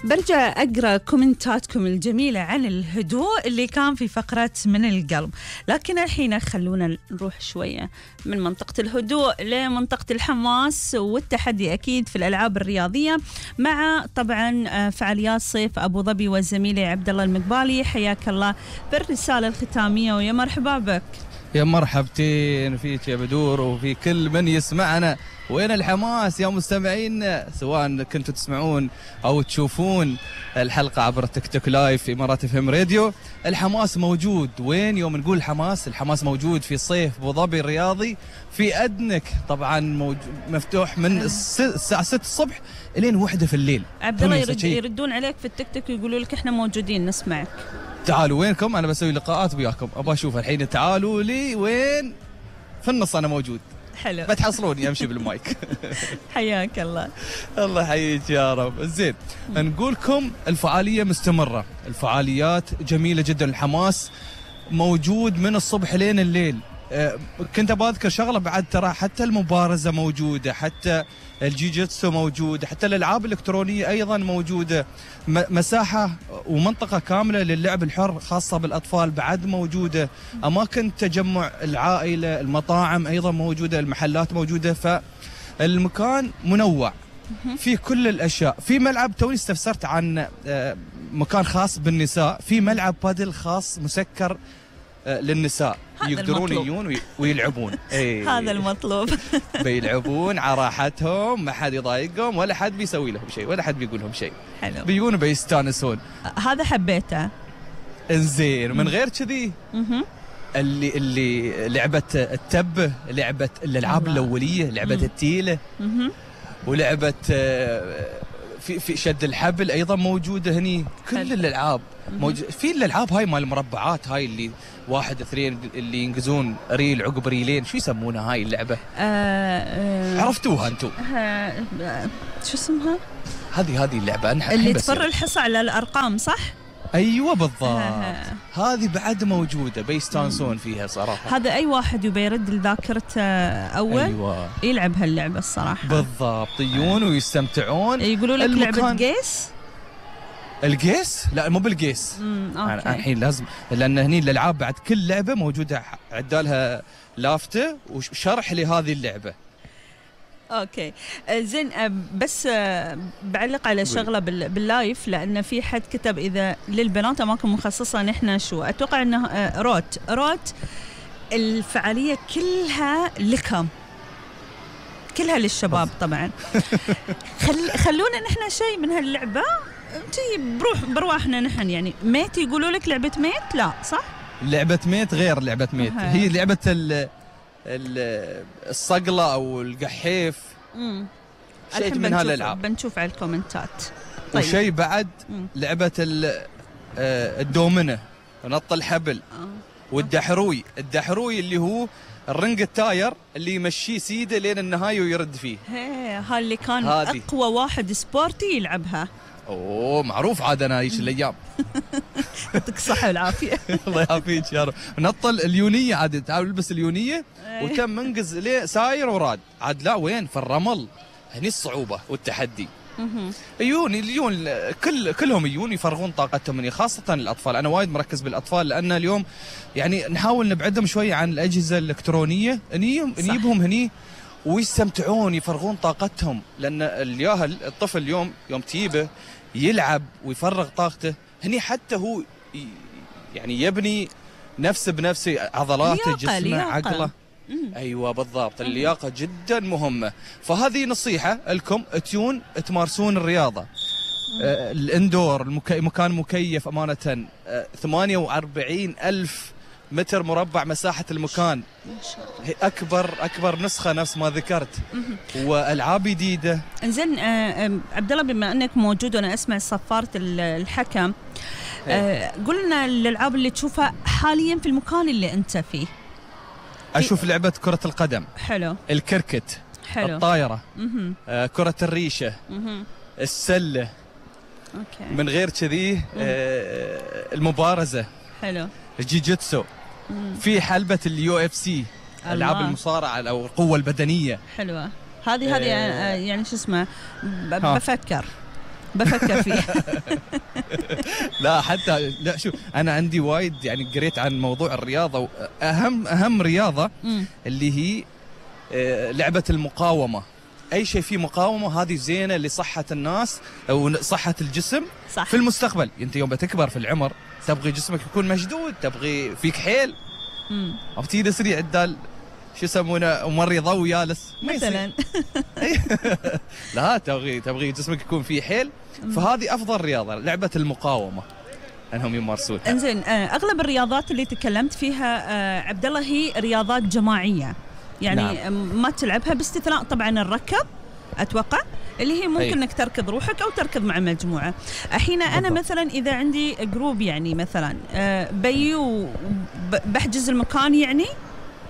برجع أقرأ كومنتاتكم الجميلة عن الهدوء اللي كان في فقرة من القلب، لكن الحين خلونا نروح شوية من منطقة الهدوء لمنطقة الحماس والتحدي أكيد في الألعاب الرياضية، مع طبعا فعاليات صيف أبو ظبي والزميلي عبد الله المقبالي. حياك الله بالرسالة الختامية ويا مرحبا بك. يا مرحبتين فيك يا بدور وفي كل من يسمعنا. وين الحماس يا مستمعين، سواء كنتوا تسمعون أو تشوفون الحلقة عبر تيك توك لايف في إمارات FM راديو. الحماس موجود وين؟ يوم نقول الحماس موجود في صيف أبو ظبي الرياضي في أدنك، طبعا مفتوح من الساعة 6 الصبح إلين 1 في الليل. عبد الله يردون عليك في التيك توك ويقولوا لك إحنا موجودين نسمعك. تعالوا وينكم؟ أنا بسوي لقاءات وياكم، أبغى أشوف الحين. تعالوا لي وين؟ في النص أنا موجود. حلو، بتحصلوني امشي بالمايك. حياك الله. الله يحييك يا رب. زين، نقولكم الفعاليه مستمره، الفعاليات جميله جدا، الحماس موجود من الصبح لين الليل. كنت بذكر شغله بعد، ترى حتى المبارزه موجوده، حتى الجيجيتسو موجوده، حتى الالعاب الالكترونيه ايضا موجوده، مساحه ومنطقه كامله للعب الحر خاصه بالاطفال بعد موجوده، اماكن تجمع العائله، المطاعم ايضا موجوده، المحلات موجوده، فالمكان منوع في كل الاشياء. في ملعب، توني استفسرت عن مكان خاص بالنساء، في ملعب بادل خاص مسكر للنساء، يقدرون يجون ويلعبون. هذا المطلوب. بيلعبون على راحتهم، ما حد يضايقهم ولا حد بيسوي لهم شيء ولا حد بيقول لهم شيء. حلو، بيجون بيستانسون. هذا حبيته. انزين، من غير كذي اللي لعبة التبة، لعبة الألعاب الأولية، لعبة التيلة، ولعبة في شد الحبل أيضا موجودة هني. كل الألعاب موجود. في الألعاب هاي مال المربعات، هاي اللي 1 2 اللي ينقزون ريل عقب ريلين، شو يسمونها هاي اللعبة؟ عرفتوها انتم؟ شو اسمها؟ هذه اللعبة اللي تفر الحصى على الأرقام، صح؟ ايوه بالضبط. هذه بعد موجوده، بيستانسون فيها صراحه. هذا اي واحد يبي يرد لذاكرته اول أيوة. يلعب هاللعبه الصراحه. بالضبط، يجون ويستمتعون. يقولوا لك لعبه قيس؟ القيس؟ لا مو بالقيس. الحين لازم، لان هني الالعاب بعد كل لعبه موجوده عدالها لافته وشرح لهذه اللعبه. اوكي زين، بس بعلق على شغله باللايف، لان في حد كتب اذا للبنات اماكن مخصصه، نحن شو اتوقع انه روت الفعاليه كلها لكم، كلها للشباب طبعا. خلونا نحن شيء من هاللعبه انتي برواحنا نحن، يعني ميت يقولوا لك لعبه ميت؟ لا صح، لعبه ميت غير لعبه ميت. هي لعبه الصقلة أو القحيف، شيء من هالألعاب. بنشوف على الكومنتات. طيب. وشيء بعد لعبة الدومنة، نط الحبل، والدحروي. الدحروي اللي هو الرنج التاير اللي يمشيه سيده لين النهاية ويرد فيه. هاي اللي كان أقوى واحد سبورتي يلعبها. اوه معروف عاد، انا ايش الايام. يعطيك الصحه والعافيه. الله يعافيك يا رب. نطل اليونيه عاد، تعال البس اليونيه وتم منقز ليه ساير وراد عاد. لا وين في الرمل، هني الصعوبه والتحدي. يجون كلهم يجون يفرغون طاقتهم هني، خاصه الاطفال. انا وايد مركز بالاطفال، لان اليوم يعني نحاول نبعدهم شويه عن الاجهزه الالكترونيه، نجيبهم هني ويستمتعون يفرغون طاقتهم. لأن الياهل الطفل اليوم يوم تجيبه يلعب ويفرغ طاقته هني، حتى هو يعني يبني نفسه بنفسه، عضلاته، جسمه، عقله. أيوة بالضبط، اللياقة جدا مهمة. فهذه نصيحة لكم، تيون تمارسون الرياضة. الاندور، مكان مكيف أمانة، 48,000 متر مربع مساحة المكان، أكبر نسخة نفس ما ذكرت، وألعاب جديدة. إنزين عبد الله، بما أنك موجود وأنا أسمع صفارة الحكم، قلنا الألعاب اللي تشوفها حاليا في المكان اللي أنت فيه. أشوف لعبة كرة القدم، حلو، الكركت، حلو، الطايرة، كرة الريشة، السلة. أوكي. من غير كذي المبارزة، حلو، الجيجيتسو، في حلبة UFC، ألعاب المصارعة أو القوة البدنية. حلوة هذه يعني شو اسمه، بفكر بفكر فيه. لا حتى لا شوف، انا عندي وايد يعني قريت عن موضوع الرياضه، اهم رياضه اللي هي لعبه المقاومه. اي شيء فيه مقاومه هذه زينه لصحه الناس او صحه الجسم. صح. في المستقبل انت يوم بتكبر في العمر تبغي جسمك يكون مشدود، تبغي فيك حيل، او تيجي سريع عدال شو يسمونه ممرضه ويالس مثلا. لا تبغي جسمك يكون فيه حيل، فهذه افضل رياضه لعبه المقاومه انهم يمارسونها. انزين، اغلب الرياضات اللي تكلمت فيها عبد الله هي رياضات جماعيه، يعني نعم. ما تلعبها باستثناء طبعا الركض اتوقع اللي هي ممكن انك تركض روحك او تركض مع مجموعه. الحين انا مثلا اذا عندي جروب يعني مثلا بيو بحجز المكان يعني،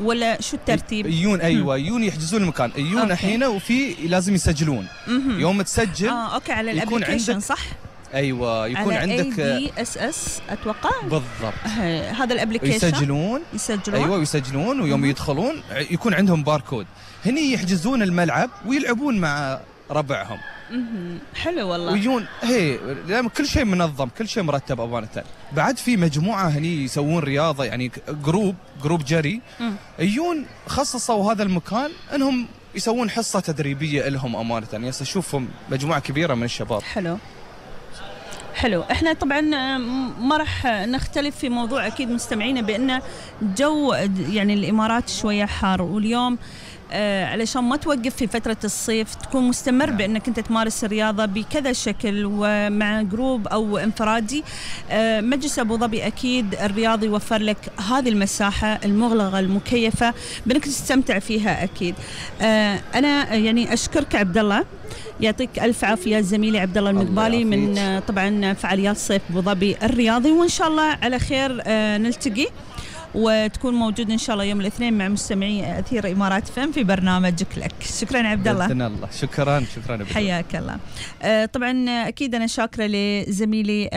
ولا شو الترتيب؟ يجون يجون يحجزون المكان، يجون الحين وفي لازم يسجلون. يوم تسجل اوكي على الابلكيشن صح؟ ايوه يكون على عندك ADSS اتوقع بالضبط. هذا الابلكيشن يسجلون ايوه يسجلون، ويوم يدخلون يكون عندهم باركود، هني يحجزون الملعب ويلعبون مع ربعهم. حلو والله. ويجون كل شيء منظم، كل شيء مرتب امانه. بعد في مجموعه هني يسوون رياضه يعني جروب جري، يجون خصصوا هذا المكان انهم يسوون حصه تدريبيه لهم امانه. يعني اشوفهم مجموعه كبيره من الشباب. حلو. احنا طبعا ما راح نختلف في موضوع اكيد مستمعينا بان جو يعني الامارات شويه حار، واليوم علشان ما توقف في فترة الصيف تكون مستمر بأنك أنت تمارس الرياضة بكذا شكل ومع جروب أو انفرادي. مجلس أبو ظبي أكيد الرياضي يوفر لك هذه المساحة المغلقة المكيفة بأنك تستمتع فيها أكيد. أنا يعني أشكرك عبد الله، يعطيك ألف عافية زميلي عبد الله المقبالي من طبعا فعاليات صيف أبو ظبي الرياضي، وإن شاء الله على خير نلتقي وتكون موجود إن شاء الله يوم الاثنين مع مستمعي أثير إمارات فم في برنامجك لك. شكرا عبد الله. بإذن الله. شكرا حياك الله. طبعا أكيد أنا شاكرة لزميلي